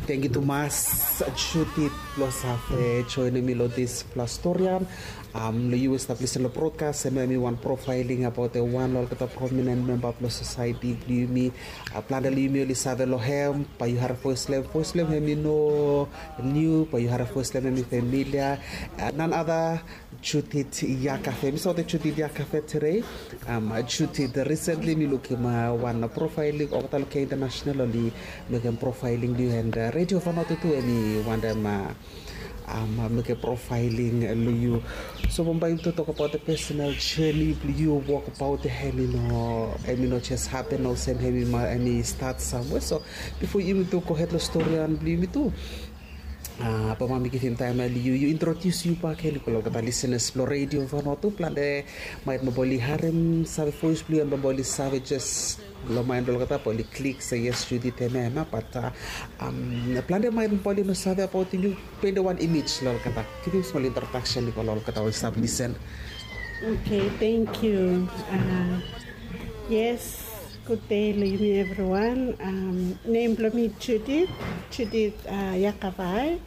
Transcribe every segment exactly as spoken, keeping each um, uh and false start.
Tangkiu tumas Judith blong save joenem mi long dispela storian. Long yu we stap lisen long brodkas, em ya em i wan profaeling abaot wan long olgeta prominen memba blong sosaeti blong yumi. Plante long yumi oli save long hem, bae yu harim voes blong hem. Voes blong hem em i no niu, bae yu harim voes blong hem em i familia. Nanada Judith Yakafe. Mi save olgeta Judith Yakafe tede. Judith, recently mi lukim wan profaeling olgeta long K International oli mekem profaeling long yu, and Radio Vanuatu tu em i wantem mekem profaeling long yu. So bambae yumi tu tokbaot personal journey blong yu, wokabaot ya em i no, em i no jes hapen olsem, em i stat samwe. So bifo yumi tu gohed long storian blong yumi tu, bambae mi givim taem ya long yu, yu introdius yu bakegen long olgeta lisenas blong Radio Vanuatu. Plante maet bambae oli harim, save voes blong yu, and bambae oli save jes long maen blong olgeta bae oli klik se yes, Judith, em ya, em ya. Bat plante maet bambae oli no save abaot yu. Paint wan image long olgeta. Givim smol introdaksen i go long olgeta we oli stap lisen. Okay, tangkiu. Yes, gudde long yumi evriwan. Nem blong mi Judith, Judith Yakavai.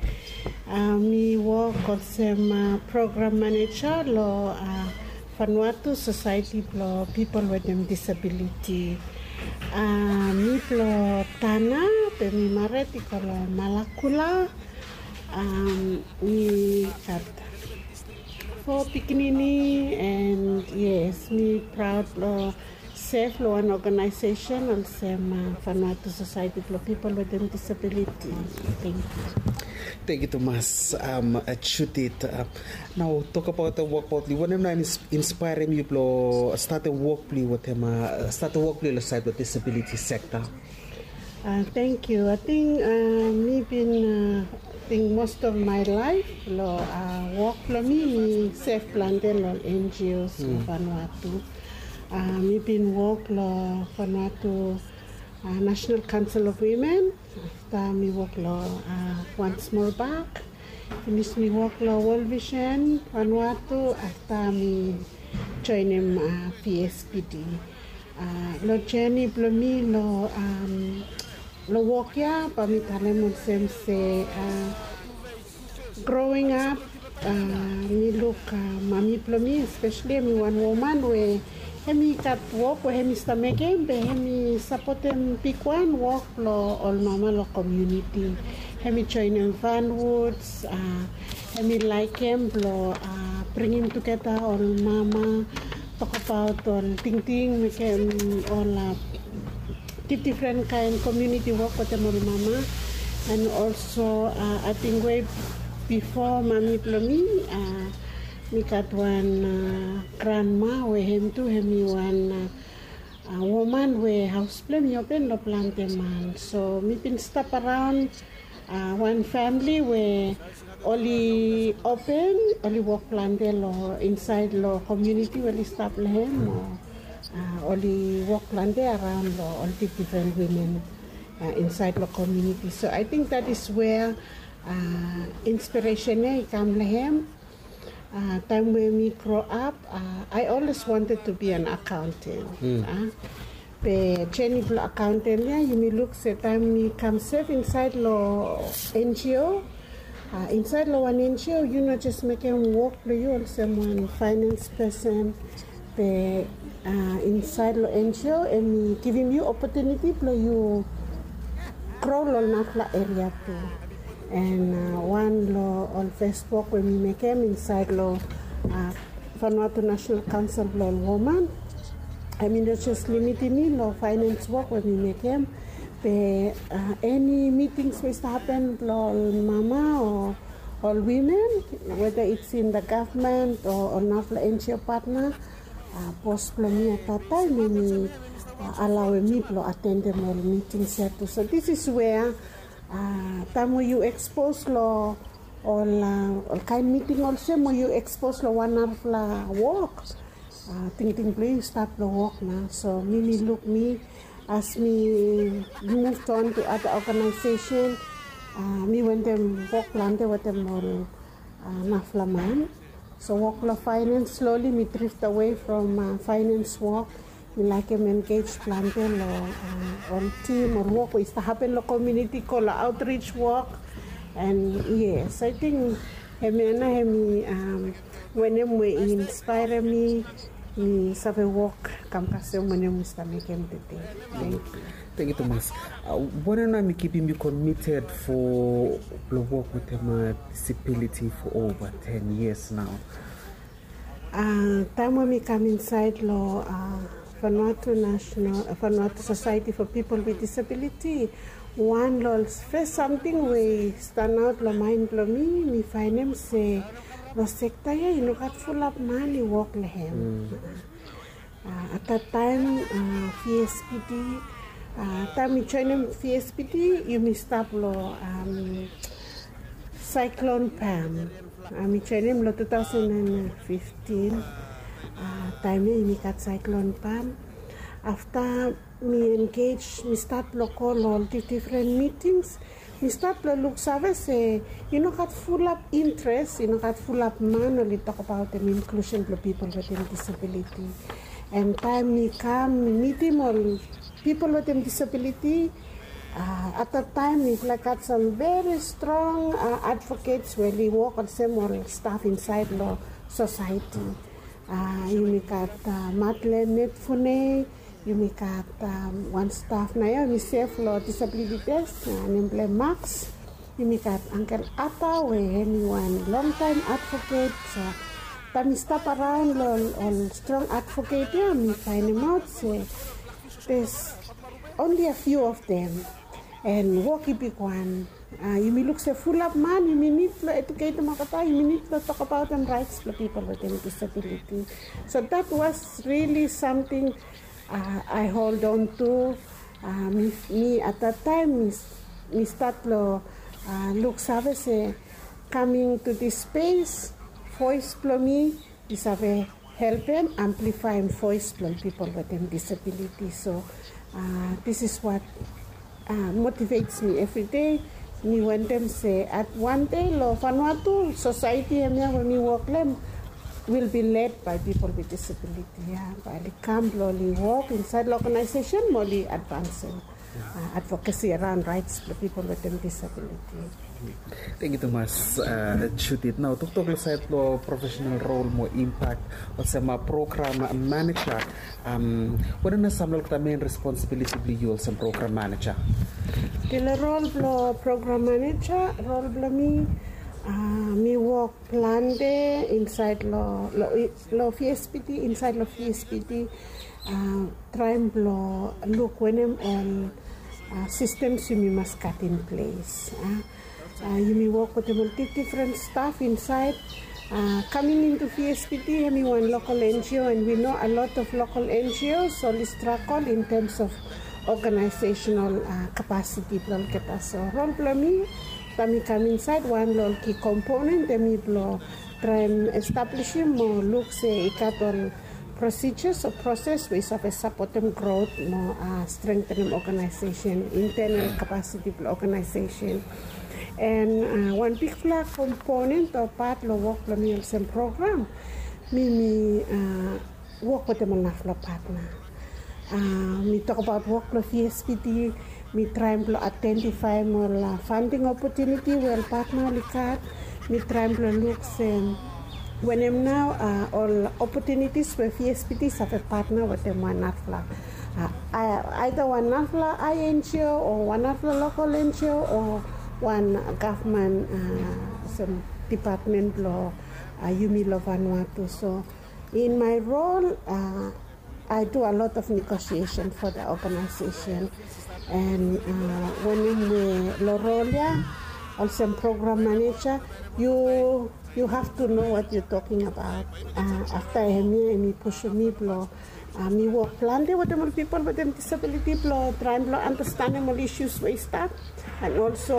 Mi wok olsem program maneja long Vanuatu Sosaeti blong Pipol Wetem Disabiliti. Mi blong Tana, be mi mared i go long Malakula. Mi gat fo pikinini, and yes, mi praod blong sef long wan organization olsem Vanuatu Sosaeti blong Pipol Wetem Disabiliti. Tangkiu. Tangkiu tumas Judith. Nao tokbaot wok blong yu, wanem nao i inspaerem yu blong statem wok blong yu wetem, statem wok blong yu long saed blong disabiliti sekta? Tangkiu. Ating mi bin, ating most of my life long wok blong mi, mi sef plante long NGOs long Vanuatu. Mi bin wok long Vanuatu National Council of Women. Afta mi wok long One Small Bark. Finis mi wok long World Vision Vanuatu. Afta mi joenem VSPD. Long jeni blong mi long, long wok ya, bae mi talem olsem se, growing up, mi luk mami blong mi, especially em i wan woman we em i gat wok we em i stap mekem, be em i sapotem bigwan wok blong ol mama long komuniti. Em i joenem Van Woods, em i laekem blong bringim tugeta ol mama, tokbaot ol tingting, mekem ol difdifren kaen komuniti wok wetem ol mama. And also ating we bifo mami blong mi, mi gat wan granma we hem tu hem i wan woman we haos blong hem i open long plante man. So mi bin stap araon wan famili we oli open, oli wok plante long insaed long komuniti we oli stap long hem, o oli wok plante araon long ol difdifren wimen insaed long komuniti. So ating that is where inspiresen ya i kam long hem. Taem we mi grow up, I always wanted to be an accountant. Be jeni blong accountant ya, yumi luk se taem mi kam sef insaed long NGO, insaed long wan NGO yu no jes mekem wok blong yu olsem wan finance person. Be insaed long NGO em i givim yu opotuniti blong yu gro long ol narafala eria tu. And wan long ol fes wok we mi mekem insaed long Vanuatu National Council blong ol woman, em i no jes limitim mi long finance wok we mi mekem, be eni mitings we i stap hapen blong ol mama o ol wimen, whether it's in the government o ol narafala NGO partner, bos blong mi at that time em i alaoem mi blong atendem ol mitings ya tu. So this is where taem we yu ekspos long ol, ol kaen miting olsem, o yu ekspos long wan narafala wok, tingting blong yu i stap long wok nao. So mi, mi luk mi, as mi move on to other organization, mi wentem wok plante wetem ol narafala man. So wok long finance, slowly mi drift away from finance wok. Mi laekem engej plante long ol tim, ol wok we i stap hapen long komuniti, go long outreach wok. And yes, I think hemia nao hemi wanem we i inspaerem mi, mi save wok kam kasem wanem mi stap mekem tede. Thank you. Thank you tumas. Wanem nao mi kipim yu committed for blong wok wetem disability for over ten years now? Taem we mi kam insaed long Vanuatu National, Vanuatu Society for People with Disability, wan long ol fes samting we i stanaot long maen blong mi, mi faenem se long sekta ya i no gat fulap man i wok long hem. At that time, V S P D, taem mi joenem V S P D, yumi stap long Cyclone Pam. Mi joenem long two thousand and fifteen. Taem ya yumi gat Cyclone Pam. Afta mi engej, mi stat long go long ol difren mitings. Mi stat long luksave se i no gat fulap interes, i no gat fulap man oli tokbaot inklusen blong pipol wetem disabiliti. And taem mi kam, mi mitim ol pipol wetem disabiliti, at that taem mifala i gat sam veri strong advokets we oli wok olsem ol staf insaed long sosaeti. Yumi gat Madeleine Netfune, yumi gat wan staf nao ya, yumi sev long disabiliti desk, nem blong hem Max. Yumi gat Angkel Ata we hemi wan longtaem advoket. So taem mi stap araon long ol strong advoket ya, mi faenemaot se there's only a few of them. And wok i bigwan. Yumi luk se fulap man, yumi nid blong eduketem olgeta, yumi nid blong tokbaotem raets blong pipol wetem disabiliti. So that was really samting I hold on to. Mi at that taem mi stat long luksave se coming to this space, voes blong mi i save helpem amplifaem voes blong pipol wetem disabiliti. So this is what motivates mi evri dei. Mi wantem se at wan dei long Vanuatu, sosaeti hemia we mi wok long hem will be led by people with disability. Ya bae oli kam blong oli wok insaed long oganaesesen mo oli advansem advokesi araon raets blong pipol wetem disabiliti. Tangkiu tumas, Judith. Nao toktok long saed blong profesenal rol mo impak olsem program maneja, wanem nao sam long olgeta men responsibiliti blong yu olsem program maneja? Long rol blong program maneja, rol blong mi, mi wok plante insaed long, long V S P D, insaed long V S P D, traem blong luk wanem ol sistems yumi mas gat in ples. Yumi wok wetem ol difdifren staf insaed. Coming into V S P D, hemi wan local N G O, and we know a lot of local N G Os oli stragol in terms of organizational capacity blong olgeta. So rol blong mi, taem mi kam insaed, wan long ol ki komponen hemi blong traem establisim mo luk se i gat ol procedures o proses we i save sapotem grot mo strengtenem organization, internal capacity blong organization. And wan bigfala komponen o pat long wok blong mi olsem program, mi mi wok wetem ol narafala patna. Mi tokbaot wok blong V S P D, mi traem blong aedentifaem ol funding opotuniti we ol patna oli gat. Mi traem blong luk se wanem nao ol opotunitis we V S P D i save patna wetem wan narafala, aeda wan narafala I N G O o wan narafala local N G O o wan gavman, olsem dipatmen blong yumi long Vanuatu. So in my role, I do a lot of negotiation for the organization. And wanem we long rol ya olsem program maneja, you, you have to know what you talking about. Afta hemia hemi pusum mi blong mi wok plante wetem ol pipol wetem disabiliti blong traem blong andastanem ol isus we i stap. And also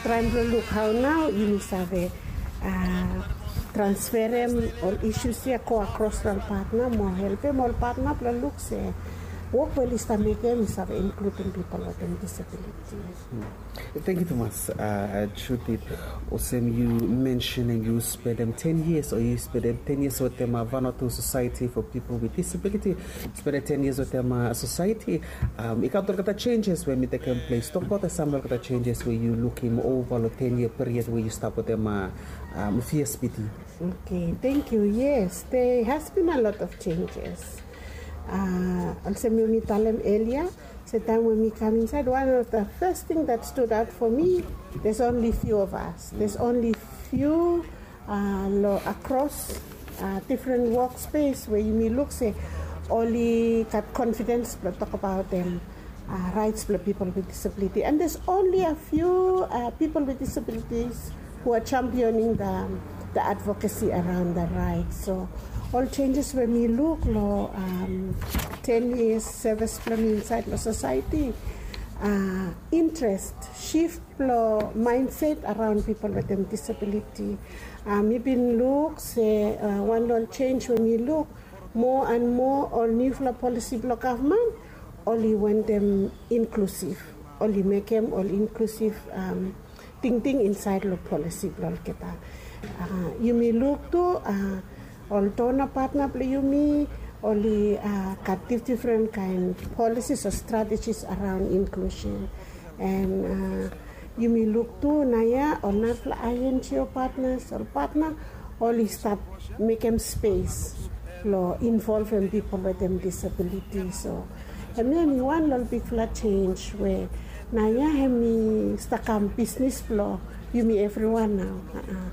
traem blong luk hao nao yumi save transferem ol isus ya go akros long ol patna mo helpem ol patna blong luk se Wok we oli stap mekem i save inkludim pipol wetem disabiliti. Thank you tumas, Judith. Olsem yu mention and yu spendem ten years o yu spendem ten years wetem Vanuatu Society for People with Disability. Spendem ten years wetem society. I gat olgeta changes we mi tekem ples. Tokbaot sam olgeta changes we yu lukim ova lo ten year period we yu stap wetem V S P D. Okay, thank you. Yes, there has been a lot of changes. Olsem we mi talem earlier, se taem we mi kam inside, one of the first thing that stood out for me, there's only few of us. There's only few uh, lo across uh, different workspace we yumi luk se oli gat confidence blo tokbaot dem uh, rights blo people with disability. And there's only a few uh, people with disabilities who are championing the, the advocacy around the rights. So ol changes we mi luk lo um, ten years service blo mi inside lo society, uh, interest shift blo mindset around people wetem disability. Uh, mi bin luk se uh, wan lo ol change we mi luk, moa and moa ol niufala policy blo gavman oli wantem inclusive. Oli mekem ol inclusive um, tingting insait lo policy blo olgeta. Uh, yumi luk tu uh, ol donor partner blo yumi oli uh, gat difdifren kaen policies o strategies around inclusion. And uh, yumi luk tu naoia ol narafala I N G O partners, ol partner oli stap mekem space lo involvem people wetem disability. So hemia hemi wan lo ol bigfala change we naoia hemi stap kam bisnis blo yumi evriwan nao. Uh-uh.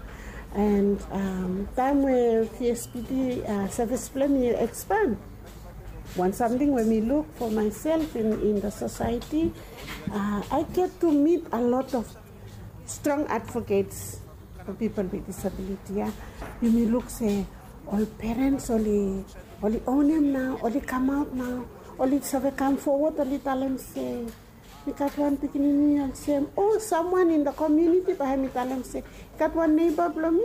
And um, taem we V S P D uh, service blo mi expand, wan samting we mi luk for myself in, in the society, uh, I get to meet a lot of strong advocates for people with disability. Yeah? Yumi luk se ol parents oli oli onem nao, oli kamaot nao, oli save kam forward, oli talem se mi gat wan pikinini olsem, o someone in the community bae hemi talem se i gat wan neighbor blo mi,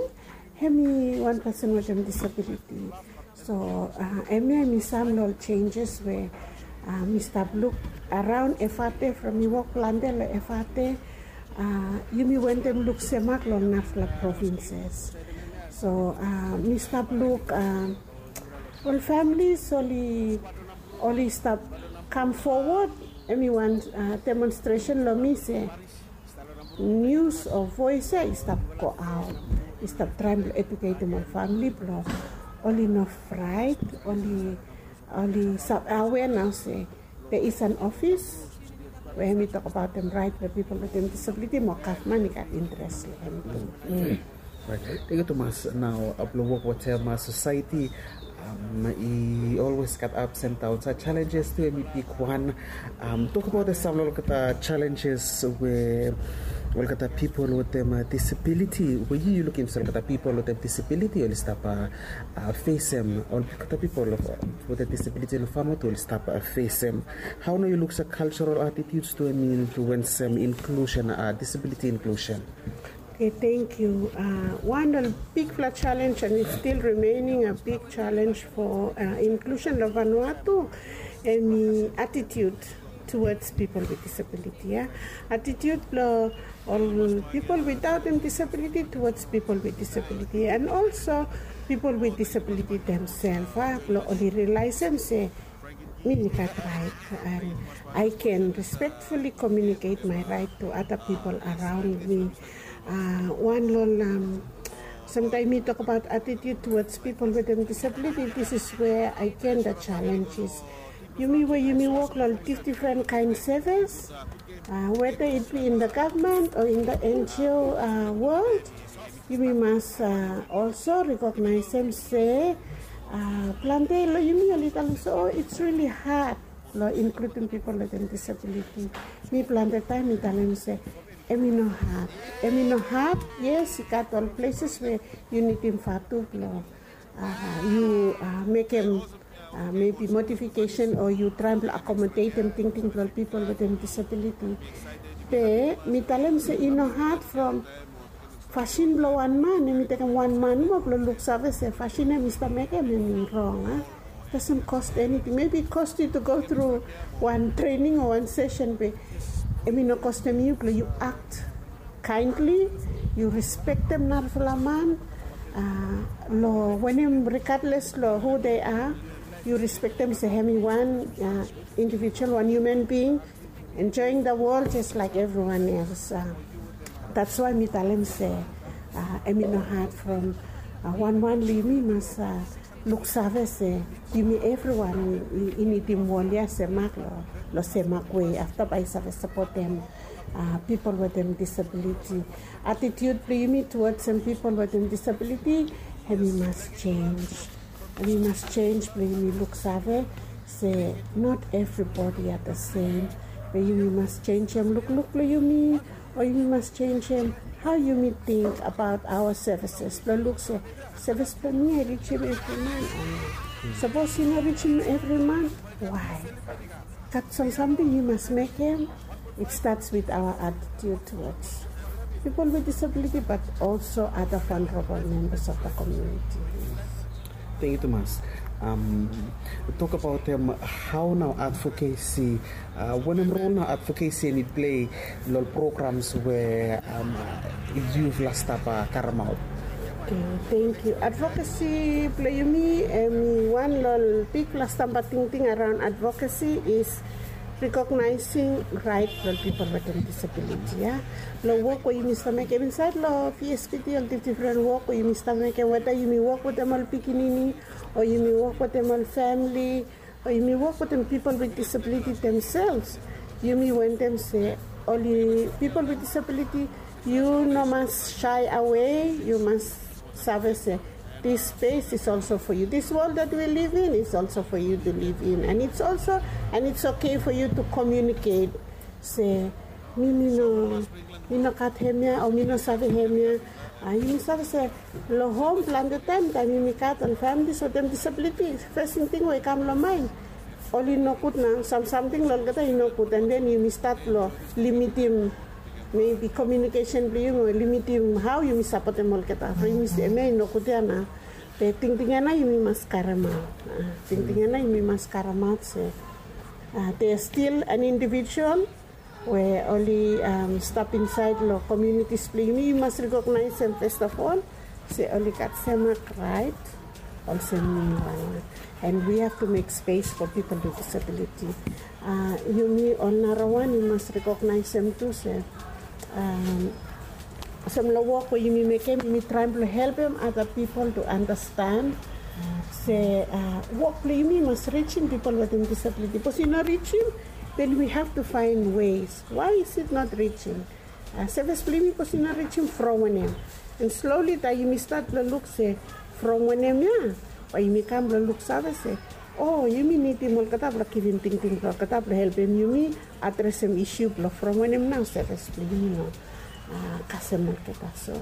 hemi wan person wetem disability. So uh, hemia hemi sam lo ol changes we uh, mi stap luk around Efate, from mi wok plante lo Efate. Uh, yumi wantem luk semak lo narafala provinces. So uh, mi stap luk uh, ol families oli oli stap kam forward. Hemi wan uh, demonstration lo mi se news o voice ia i stap go aot, i stap traem blo eduketem ol famili blo oli no fraet, oli oli stap aware nao se there is an office we hemi tokbaotem raet blo pipol wetem disability mo gavman i gat interes lo hem tu. Thank you tumas. Nao blo wok wetem society, um, i always gat ups and downs. Challenges tu hemi bigwan. Um, tokbaot sam lo olgeta challenges we olgeta pipol wetem uh, disability we yu yu lukim se olgeta pipol wetem disability oli stap uh, uh, fesem, olgeta pipol wetem disability lo Vanuatu oli stap uh, fesem. Hao nao yu luk se cultural attitudes tu hemi influensem inclusion, uh, disability inclusion? Okay, thank you. Uh, wan ol bigfala challenge, and it's still remaining a big challenge for uh, inclusion lo Vanuatu, hemi attitude towards people with disability. Yeah? Attitude blo ol people without them disability towards people with disability, and also people with disability themselves. Uh, blo oli realizem se mi gat right, and I can respectfully communicate my right to other people around me. Uh, wan lo ol um, samtaem mi tokbaot attitude towards people wetem disability, this is where again the challenge is. Yumi we yumi wok lo ol difdifren kaen service, uh, whether it be in the government or in the N G O uh, world, yumi mas uh, also recognize em se uh, plante lo yumi oli talem se, oh, it's really hard lo including people wetem disability. Mi plante taem mi talem se hemi no hard. Hemi no hard. Yes, i gat ol places we yu nidim vatu blo uh, yu uh, mekem uh, maybe modification o yu traem blo accommodatem tingting blo ol people wetem disability. Be mi talem se i no hard from fasin blo wan man, hemi tekem wan man moa blo luksave se fasin hemi stap mekem hemi rong. Uh. Doesn't cost anything. Maybe it cost you to go through one training or one session, be hemi no kostem yu blong yu act kindly, yu respektem narafala man, uh, long wanem, regardless long who they are, yu respektem se hemi wan, uh, individual, wan human being enjoying the world just like everyone else. Uh, that's why mi talem se, uh, hemi no hard from, uh, wan wan long yumi mas, uh, luksave se yumi evriwan i, i, i nidim wol ya se mak long, long semak wei afta bae i save sapotem, uh, pipol wetem disabiliti. Attitude blong yumi towards pipol wetem disabiliti, hemi mas change. Hemi mas change blong yumi luksave se not everybody are the same. Be yumi mas changem lukluk blong yumi, o yumi mas changem hao yumi ting abaot aoa services blong luk se sevis blong mi i rijim evri man o no. Sapos i no rijim evri man, why? Gat sam samting yu mas mekem. It starts with our attitude towards people with disability, but also other vulnerable members of the community. Thank you, Thomas. Um, talk about um, how now advocacy, uh, wanem role now advocacy hemi play long programs we, um, yufala stap karemaot. Okay, thank you. Advocacy blong yumi, hemi wan long bigfala stamba tingting around advocacy is recognizing right blong pipol wetem disabiliti, ya. Long wok we yumi stap mekem insaed long V S P T, ol difdifren wok we yumi stap mekem, weda yumi wok wetem ol pikinini o yumi wok wetem ol famili, o yumi wok wetem pipol with disability themselves. Yumi wantem se oli pipol with disability, yu no mas shy away, yu mas save se this space is also for you. This world that we live in is also for you to live in, and it's also, and it's okay for you to communicate. Se mi, mi no, mi no gat hemia o mi no save hemia. A, yumi save se long hom plante taem, taem yumi gat ol familis wetem disabiliti, fes tingting we i kam long maen, oli nogud nao, sam samting long olgeta i nogud, and then yumi stat long limitim maybe communication blong yumi o limitim hao yumi sapotem olgeta. From yumi se hemia i nogud ya nao. Be tingting ya nao yumi mas karemaot. A, tingting ya nao yumi mas karemaot se, a, they are still an individual we oli, um, stap insaed long communities blong yumi. Yu mas recognize em first of all se oli gat semak right olsem mi wan. And we have to make space for people with disability. Uh, yumi ol narawan yu mas recognize em tu se, um, olsem long wok we yumi mekem, yumi traem blong helpem other people to understand se, uh, wok blong yumi mas rijim pipol wetem disabiliti. Bikos i no rijim, then we have to find ways. Why is it not reaching? Uh, sevis blong yumi bikos i no rijim, from wanem? And slowly taem yumi stat blong luk se from wanem ya, bae yumi kam blong luksave se, o, yumi nidim olgeta blong givim tingting blong olgeta blong helpem yumi adresem isu blong from wanem nao sevis blong yumi no, uh, kasem olgeta. So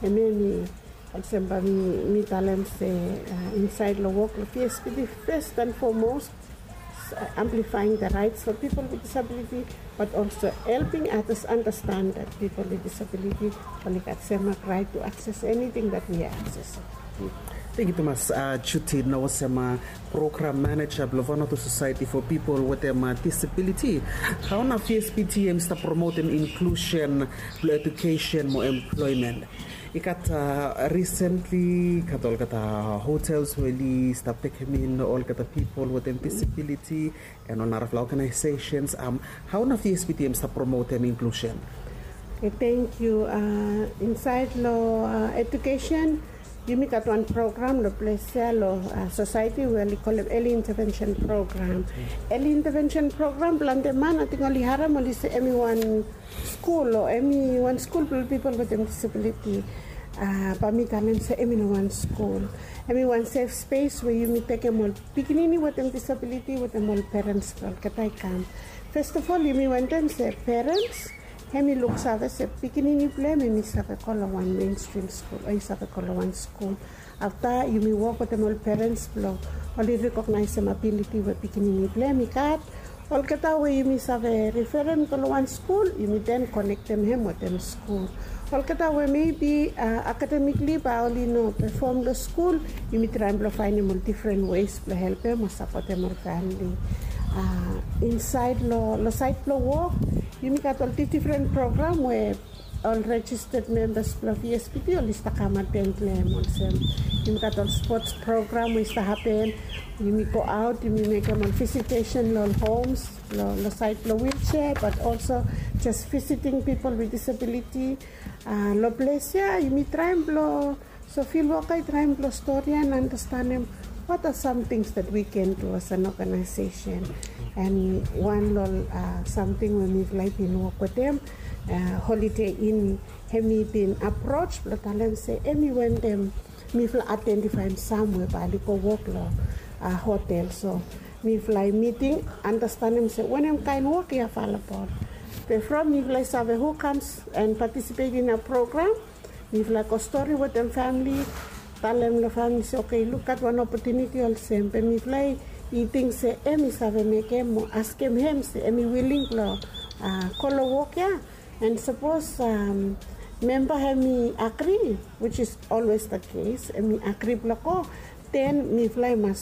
hemia mi, olsem bae mi, mi talem se, uh, insaed long wok long V S P T, first and foremost, uh, amplifying the rights for people with disability, but also helping others understand that people with disability oli gat semak right to access anything that we are accessing. Thank you, Thomas. Uh, Judy, nao olsem, uh, program manager blong Vanuatu Society for People wetem, uh, Disability. Hao nao V S P T hemi stap promotem inclusion blong education mo employment? I gat, uh, recently gat olgeta hotels we oli stap tekem in olgeta pipol wetem disability and ol narafala organizations. Um, hao nao V S P T hemi stap promotem inclusion? Okay, thank you. Uh, insaed long, uh, education, yumi gat wan program long ples ya long, uh, society we oli kolem early intervention program. Early intervention program, plante man ating oli harem, oli se hemi wan skul o hemi wan skul blong pipol wetem disabiliti. Uh, bae mi talem se hemi no wan skul. Hemi wan safe space we yumi tekem ol pikinini wetem disabiliti wetem ol perens blong olgeta i kam. First of all, yumi wantem se perens hemi luksave se pikinini blong hem hemi save go long wan mainstream skul o i save go long wan skul. Afta yumi wok wetem ol perens blong oli recognizeem abiliti we pikinini blong hem i gat, Olgeta we yumi save referem go long wan skul, yumi den konektem hem wetem skul. Olgeta we mebi akademikli bae oli no pefom long skul, yumi traem blong faenem ol difren wes blong helpem o sapotem ol famili. Insaed long saed blong wok, yumi gat ol difdifren program we ol rejisted membas blong V S P T oli stap kam aten long hem olsem, yumi gat ol spots program we i stap hapen. Yumi go aot, yumi mekem ol visitesen long ol homes long saed blong wilsea, bat olso jes visiting pipol wit disabiliti. Long ples ya yumi traem blong, so fil woka i traem blong stori ya and anastenem what are some things that we can do as an organization. And wan long ol samting we mifala i bin wok wetem Holiday Inn, hem i bin aproj blong talem se hem i wantem mifala aidentifaem sam we bae oli go wok long hotel. So mifala i miting, anastenem se wanem kaen wok i avelabol. Be from mifala i save hu kams and patisipet in a program, mifala i go stori wetem famili, talem long famili se, oke, lukaot wan opotuniti olsem, be mifala i ting se hem i save mekem o askem hem se hem i wiling blong go long wok ya. And sapos memba hem i agri, which is always the case, hem i agri blong go, den mifala i mas